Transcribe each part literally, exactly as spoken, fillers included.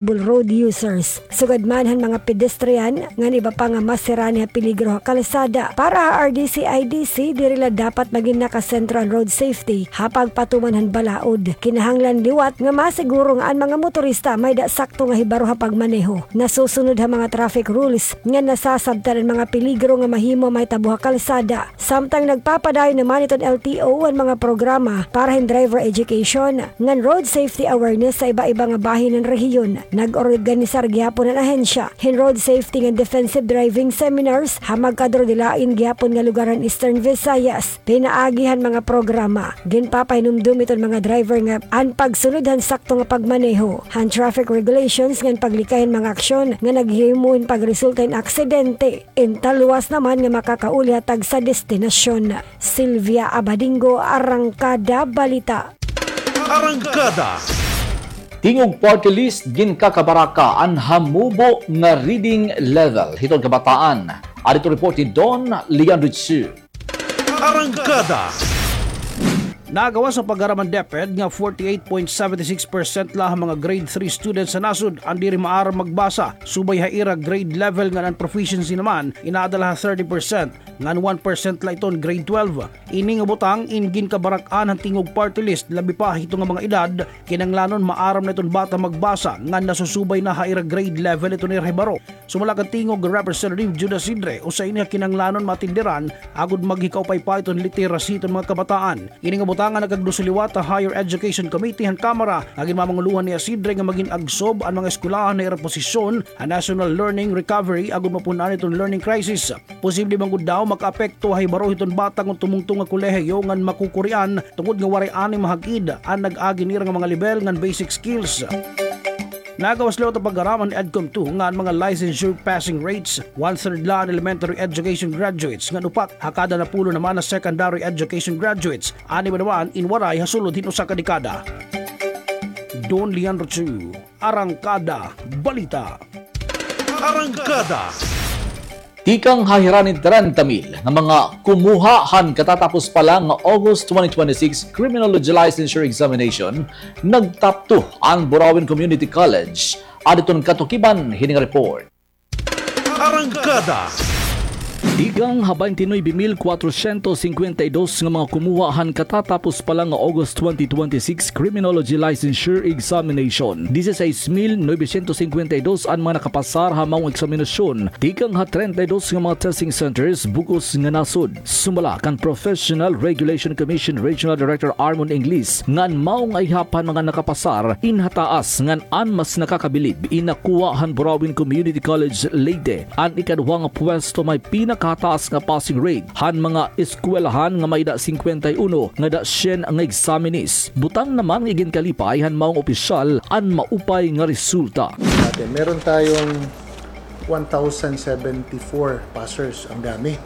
road users. Sugad man han mga pedestrian, ngan iba pa nga masirani ha peligro ha kalsada. Para ha R D C I D C, diri la dapat magin nakasentro an road safety ha pagpatuman han balaod. Kinahanglan liwat nga masiguro nga an mga motorista may-ada sakto nga hibaro ha pagmaneho, nasusunod ha mga traffic rules, ngan nasasabtan an mga peligro nga mahimo mahitabo ha kalsada. Samtang nagpapadayon naman iton L T O an mga programa para hin driver education ngan road safety awareness sa iba-iba nga bahin han rehiyon. Nag-organisar gihapon an ahensya hin road safety ngan defensive driving seminars ha magkadurodilain gihapon nga lugar han Eastern Visayas. Pinaagi han mga programa, ginpapahinumdom iton mga driver nga an pagsunod han sakto nga pagmaneho han traffic regulations ngan paglikay hin mga aksyon nga naghihimo hin pagresulta hin aksidente. Intaluwas naman nga makakauli ha tagsa destinasyon. Sylvia Abadingo, Arangkada Balita. Arangkada. Tingog Party List ginkakabaraka an hamubo nga reading level hiton kabataan. Adto report ni Don Leandro Chu. Arangkada. Nagawas sa pag-aram han DepEd nga forty-eight point seven six percent la han mga grade three students sa nasod an diri maaram magbasa, subay ha ira grade level ngan an proficiency naman inaada la ha thirty percent, ngan one percent la iton grade twelve. Ini nga butang in ginkabarak-an han Tingog Party List, labi pa hito nga mga edad, kinanglanon maaram na iton bata magbasa ngan nasusubay na ha ira grade level iton ira hibaro. Sumala kan Tingog Representative Judas Sidre, usa ini ha kinanglanon maatindiran agod maghikaupay pa iton literacy iton mga kabataan. Ini nga butang an nagkagduso liwat ha Higher Education Committee han Kamara nga ginmamangulohan ni Sidre nga magin agsob an mga eskwelahan ha ira posisyon ha National Learning Recovery agod mapun-an iton learning crisis. Posible man gud daw makaapekto ha hibaro hiton bata kon tumungtong ha kolehiyo ngan makukurian tungod nga waray anay mahag-id an nag-agi nira nga mga lebel ngan basic skills. Nagawas liwat ha pag-aram han EDCOM two nga an mga licensure passing rates, one-third la an elementary education graduates ngan upat ha kada napulo naman an secondary education graduates. An iba naman in waray ha sulod hin usa ka dekada. Don Leandro Chu, Arangkada Balita. Arangkada. Tikang ha hiranin trenta mil nga mga kumuha han katatapos pa la nga August twenty twenty-six Criminology Licensure Examination, nag-top two an Burauen Community College. Adton katukiban hini nga report. Arangkada. Tikang ha baynte nuwebe mil kwatrosyentos singkwenta y dos nga mga kumuha han katatapos pa la nga August twenty twenty-six Criminology Licensure Examination, dieciséis mil novecientos cincuenta y dos an mga nakapasar ha maong eksaminasyon tikang ha treinta y dos nga mga testing centers bug-os nga nasod. Sumala kan Professional Regulation Commission Regional Director Armon Inglis, ngan maong ayhap han mga nakapasar in ha taas ngan an mas nakakabilib in nakuha han Burauen Community College Leyte, an ikaduha nga pwesto may pinakataas nga passing rate han mga eskwelahan nga may-ada singkwenta y uno nga da syen nga examinees. Butang naman nga iginkalipay han maong opisyal an maupay nga resulta. Dati, meron tayong one thousand seventy-four passers. Ang dami.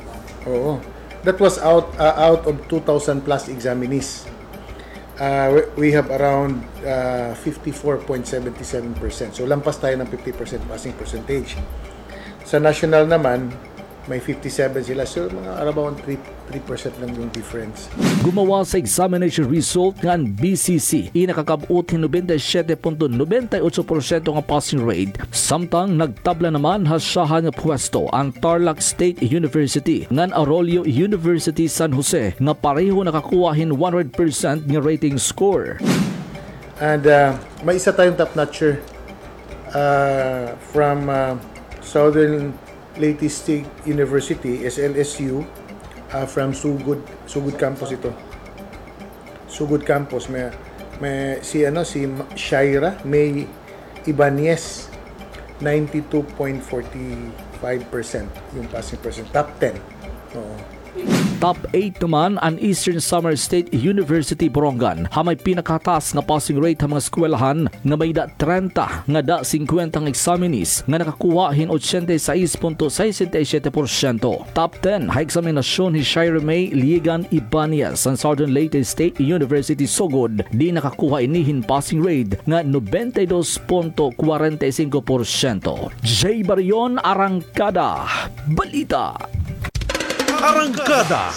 Oo. That was out, ah, out of two thousand plus examinees. Ah, we, we have around, ah, fifty-four point seven seven percent. So, lampas tayo ng fifty percent passing percentage. Sa national naman, may fifty-seven sila. So, mga around three, three percent lang yung difference. Gumawa sa examination result nga an B C C in nakakab-ot hin nobenta y siyete punto nobenta y otso porsyento nga passing rate, samtang nagtabla naman ha syahan nga pwesto an Tarlac State University ngan Arroyo University San Jose nga pareho nakakuha hin one hundred percent nga rating score. And, ah, may isa tayong top notcher, ah, from, ah, Southern Leyte State University, S L S U, ah, from Sugod, Sugod Campus ito. Sugod Campus, may, may si, ano, si Ma-, Shaira May Ibanez, ninety-two point forty-five percent yung passing percent. Top ten. Oo. Top eight naman an Eastern Samar State University Borongan, ha may pinakataas nga passing rate ha mga eskwelahan nga may da trenta nga da singkwenta nga examinees nga nakakuha hin ochenta y seis punto sesenta y siete porsyento. Top ten ha eksaminasyon hi Shaira May Liegan Ibanez han Southern Leyte State University Sogod, di nakakuha ini hin passing rate nga nobenta y dos punto kwarenta y singko porsyento. Jay Barion, Arangkada Balita. Arangkada.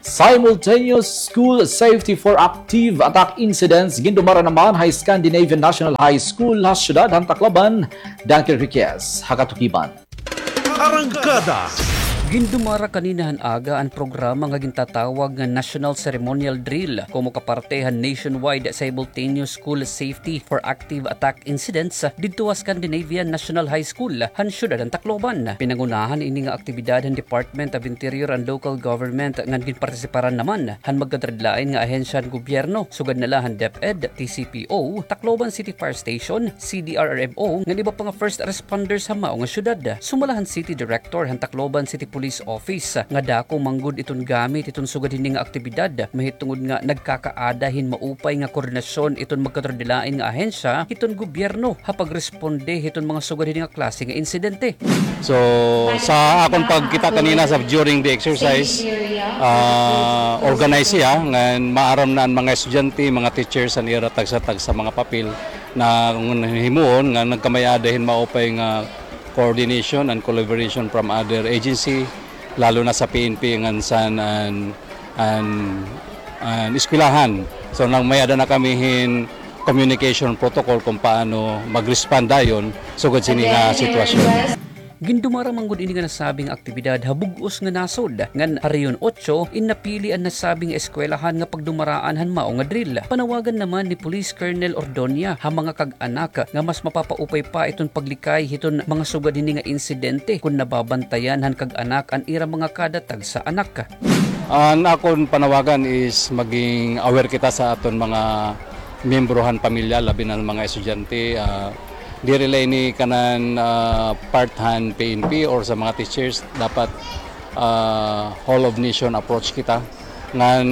Simultaneous School Safety for Active Attack Incidents, gindumara naman ha Scandinavian National High School ha siyudad han Tacloban. Dunker Riquez ha katukiban. Arangkada. Gindumara kanina han aga an programa nga gintatawag nga National Ceremonial Drill komo ka parte han nationwide simultaneous school safety for active attack incidents didto ha Scandinavian National High School han siyudad han Tacloban. Pinangunahan ini nga aktibidad han Department of Interior and Local Government ngan ginpartisiparan naman han magkadradlain nga ahensya han gobyerno, sugad na la han DepEd, T C P O, Tacloban City Fire Station, C D R R M O, ngan iba pa nga first responders ha mao nga syudad. Sumala han City Director han Tacloban City Police Office nga dako man gud iton gamit iton sugad hini nga aktibidad, mahitungod nga nagkakaada hin maupay nga koordinasyon iton magkadradlain nga ahensya hiton gobyerno ha pagresponde hiton mga sugad hini nga klase nga insidente. So, sa akon pagkita kanina sa, during the exercise, ah, organize siya, ngan maaram na an mga estudyante, mga teachers, an ira tagsa-tagsa mga papel na ngun himuon nga nagkamay-ada hin maupay nga coordination and collaboration from other agency, lalo na sa P N P ngan san an, an eskwelahan. So, nagmay-ada na kami hin communication protocol kon paano mag-respond dayon sugad sini nga sitwasyon. Gindumara man gud ini nga nasabi nga aktibidad ha bug-os nga nasod, ngan ha Rehiyon Otso in napili an nasabi nga eskwelahan nga pagdumaraan han mao nga drill. Panawagan naman ni Police Colonel Ordonia ha mga kag-anak nga mas mapapaupay pa iton paglikay hiton mga sugad hini nga insidente kon nababantayan han kag-anak an ira mga kada tagsa anak. An akon panawagan is maging aware kita sa aton mga miyembro han pamilya, labi na an mga estudyante. Ah, diri la ini kanan, ah, part han P N P or sa mga teachers, dapat, ah, whole of nation approach kita. Ngan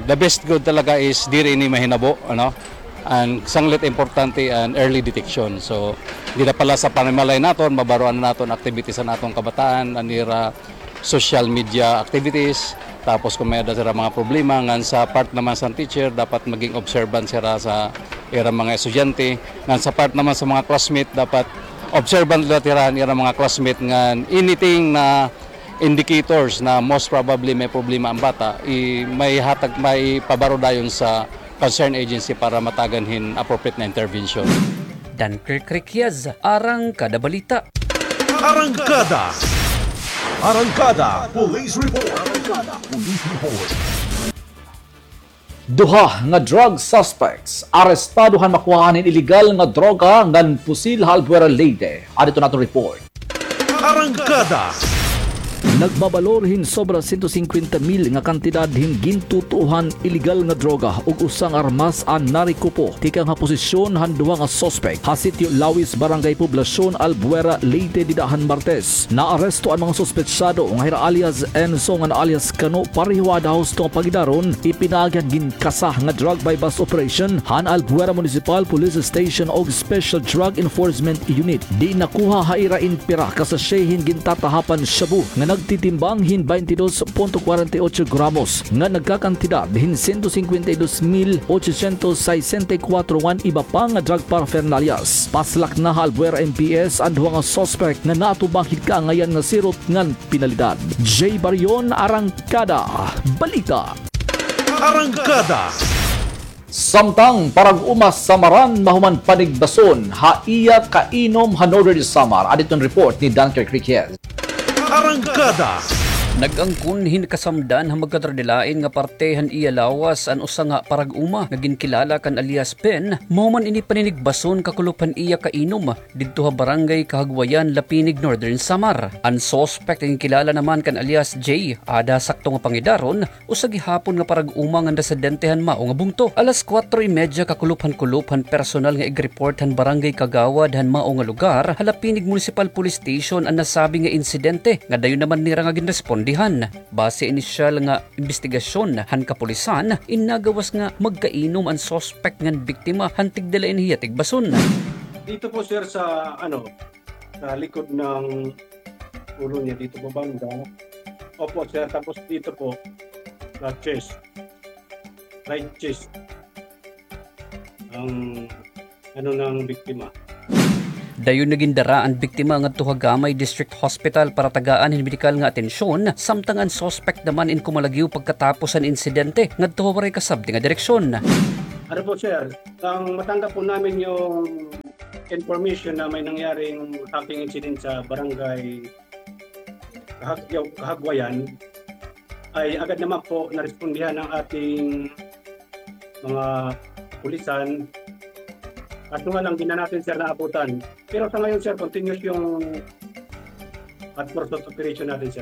the best gud talaga is diri ini mahinabo, ano? An sanglit importante an early detection. So, dida pa la sa panimalay naton, mabaruan na naton activities an aton kabataan, an ira social media activities, tapos kon may-ada sira mga problema, ngan sa part naman sa teacher, dapat maging observant sira sa ira mga estudyante, ngan sa part naman sa mga classmate, dapat observant la sira han ira mga classmate, ngan anything na indicators na most probably may problema an bata, i-, may hatag, may pabaro dayon sa concerned agency para matagan hin appropriate na intervention. Dunkirk Riquez, Arangkada Balita. Arangkada. Arangkada Police Report. Arangkada Police Report. Duha nga drug suspects arestado han makuhaan hin iligal nga droga ngan pusil ha Albuera, Leyte. Adto an aton report. Arangkada. Nagbabalor hin sobra sento singkwenta mil nga kantidad hin gintutuohan iligal nga droga ug usa nga armas an narekupo tikang ha posisyon han duha nga suspek ha Sitio Lawis, Barangay Poblacion, Albuera, Leyte, dida han Martes. Naaresto an mga suspetsado nga hira alias Enzo ngan alias Kano, pareho ada husto nga pangidaron, ipinaagi han ginkasa nga drug buy-bust operation han Albuera Municipal Police Station ug Special Drug Enforcement Unit. Di nakuha ha ira in pira ka sachet hin gintatahapan shabu nga nagtitimbang hin baynte dos punto kwarenta y ocho gramos nga nagkakantidad hin sento singkwenta y dos mil ochocientos saysenta y kuwatro ngan iba pa nga drug paraphernalias. Paslak na ha Albuera M P S an duha nga suspek nga natubang hin kaangayan nga Sirot ngan Pinalidad. Jay Barion, Arangkada Balita. Arangkada. Samtang parag-uma, samaran mahuman panigbason ha iya kainom ha Northern Samar. Adto an report ni Dunkirk Riquez. Arangkada. Nag-angkon hin kasamdan ha magkadradlain nga parte han iya lawas an usa nga parag-uma nga ginkilala kan alias Ben, mahuman ini paninigbason kakulop han iya kainom didto ha Barangay Kahagwayan, Lapinig, Northern Samar. An suspek nga ginkilala naman kan alias Jay, ada ha sakto nga pangidaron, usa gihapon nga parag-uma ngan residente han mao nga bungto. Alas kuwatro y medya kakulop han kulop han personal nga igreport han barangay kagawad han mao nga lugar ha Lapinig Municipal Police Station an nasabi nga insidente nga dayon naman nira nga ginrespondihan. Base inisyal nga imbestigasyon han kapulisan, in nagawas nga magkainom an suspek ngan biktima han tigdala ini hiya tigbason. Dito po, sir, sa, ano, sa likod ng ulo niya, dito po banda. Opo, sir. Tapos dito po, sa chest. Right chest. Ang ano ng biktima. Dayon na gindara an biktima ngadto ha Gamay District Hospital para tagaan hin medikal nga atensyon, samtang an suspect naman in kumalagyo pagkatapos han insidente ngadto ha waray kasabti nga direksyon. Ano po, sir, nang matanggap po namin yung information na may nangyaring hacking incident sa barangay Kahagyaw-, Kahagwayan, ay agad naman po narespondihan ng ating mga pulisan. Kaso nga lang, di na natin, sir, naabutan. Pero sa ngayon, sir, continuous yung at pursuit operation natin, sir.